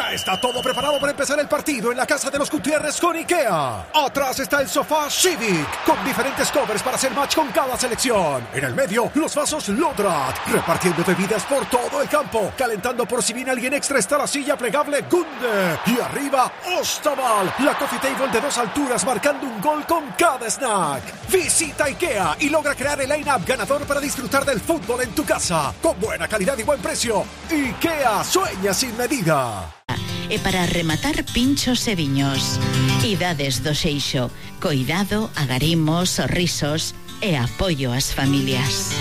Ya está todo preparado para empezar el partido en la casa de los Gutiérrez con IKEA. Atrás está el sofá Civic, con diferentes covers para hacer match con cada selección. En el medio, los vasos Lodrat, repartiendo bebidas por todo el campo. Calentando por si viene alguien extra está la silla plegable Gunde. Y arriba, Ostaval, la coffee table de 2 alturas marcando un gol con cada snack. Visita IKEA y logra crear el line-up ganador para disfrutar del fútbol en tu casa. Con buena calidad y buen precio. IKEA sueña sin medida. E para rematar, pinchos e viños. Idades do Seixo. Coidado, agarimos, sorrisos e apoio ás familias.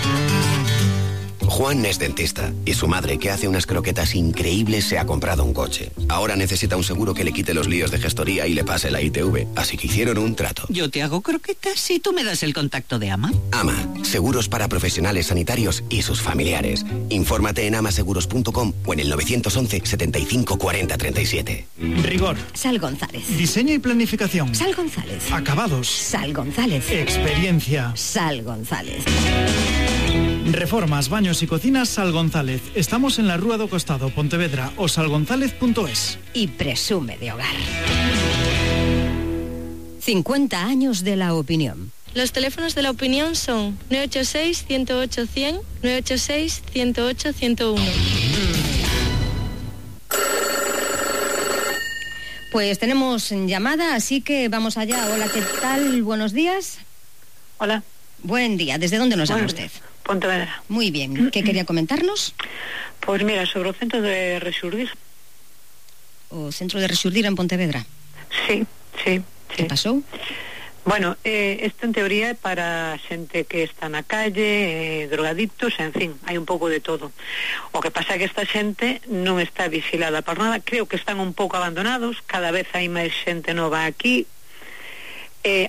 Juan es dentista y su madre, que hace unas croquetas increíbles, se ha comprado un coche. Ahora necesita un seguro que le quite los líos de gestoría y le pase la ITV. Así que hicieron un trato. Yo te hago croquetas y tú me das el contacto de AMA. AMA, seguros para profesionales sanitarios y sus familiares. Infórmate en amaseguros.com o en el 911 75 40 37. Rigor. Sal González. Diseño y planificación. Sal González. Acabados. Sal González. Experiencia. Sal González. Reformas, baños y cocinas Sal González. Estamos en la Rúa do Costado, Pontevedra, o salgonzalez.es. Y presume de hogar. 50 años de la opinión. Los teléfonos de la opinión son 986-108-100, 986-108-101. Pues tenemos llamada, así que vamos allá. Hola, ¿qué tal? Buenos días. Hola. Buen día. ¿Desde dónde nos llama usted? Pontevedra. Muy bien. ¿Qué quería comentarnos? Pues mira, sobre o centro de Rexurdir. O centro de Rexurdir en Pontevedra. Sí. Que pasou? Bueno, isto en teoría é para xente que está na calle, drogadictos, en fin, hai un pouco de todo. O que pasa é que esta xente non está vigilada por nada, creo que están un pouco abandonados, cada vez hai máis xente nova aquí.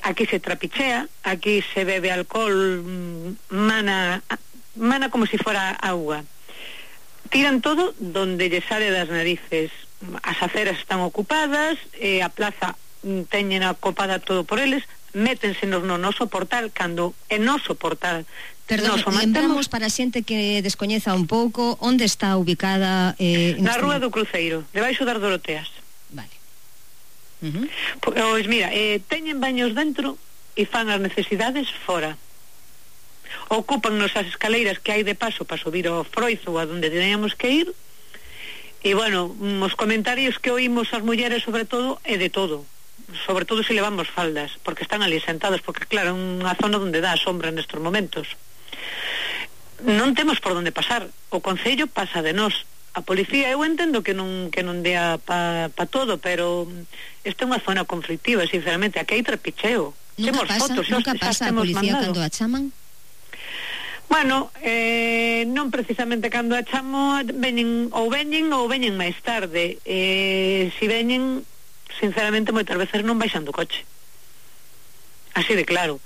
Aquí se trapichea, aquí se bebe alcohol, mana como si fuera agua. Tiran todo donde lle sale das narices. As aceras están ocupadas, a plaza teñen acopada todo por eles, métense no noso portal, cando é noso portal. Perdón, lembramos para xente que descoñeza un pouco onde está ubicada na Rúa do Cruceiro, debaixo das Doroteas. Vale. Pois mira, teñen baños dentro e fan as necesidades fora. Ocúpannos as escaleiras que hai de paso para subir ao Froizo a donde teníamos que ir. E bueno, os comentarios que oímos as mulleres sobre todo é de todo, sobre todo se levamos faldas, porque están ali sentadas, porque claro, é unha zona onde dá a sombra nestes momentos. Non temos por onde pasar, o Concello pasa de nós. A policía, eu entendo que non dea pa todo, pero esta é unha zona conflictiva, sinceramente, aquí hai trapicheo. Nunca pasa a policía cando a chaman? Bueno, non precisamente cando a chamo, veñen máis tarde. Si veñen, sinceramente, moitas veces non baixan do coche. Así de claro.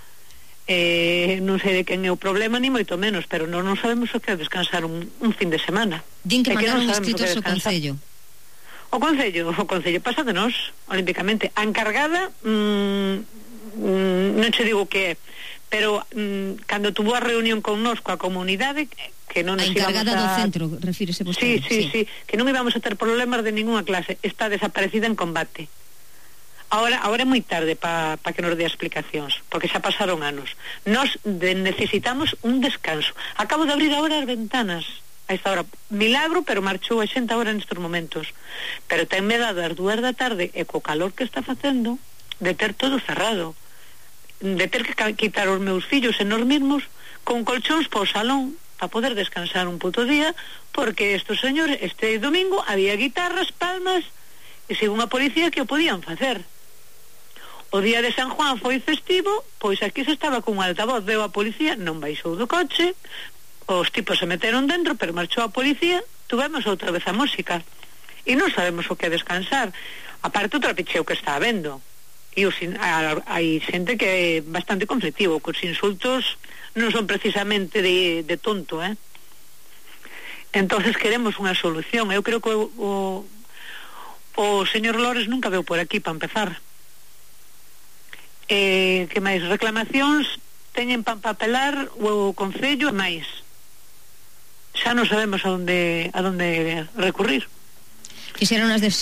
Non sei de quen é o problema, ni moito menos, pero non sabemos o que é descansar un fin de semana. Din que mandaron escritos ao Concello. O Concello pasa de nós, olímpicamente. A encargada, non che digo que é, pero cando tuvo a reunión con nós, coa comunidade, que non nos íbamos a... A encargada do centro, refírese vostede. Sí, que non íbamos a ter problemas de ninguna clase. Está desaparecida en combate. Ahora é moi tarde para que nos dé explicacións, porque xa pasaron anos. Nos necesitamos un descanso. Acabo de abrir agora as ventanas a esta hora. Milagro, pero marchou a xente agora nestes momentos. Pero tenme dado as 2 da tarde e co calor que está facendo de ter todo cerrado, de ter que quitar os meus fillos e nos mesmos con colchóns po salón para poder descansar un puto día, porque estes señores, este domingo había guitarras, palmas e según a policía que o podían facer. O día de San Juan foi festivo, pois aquí se estaba con un altavoz, veo a policía, non baixou do coche, os tipos se meteron dentro, pero marchou a policía, tuvemos outra vez a música, e non sabemos o que descansar, aparte o trapicheo que está habendo, e hai xente que é bastante conflictivo, que os insultos non son precisamente de tonto, entonces queremos unha solución. Eu creo que o señor Lores nunca veu por aquí para empezar. Que máis reclamacións teñen para papelar o Concello e máis. Xa non sabemos a onde recurrir. Fixeron as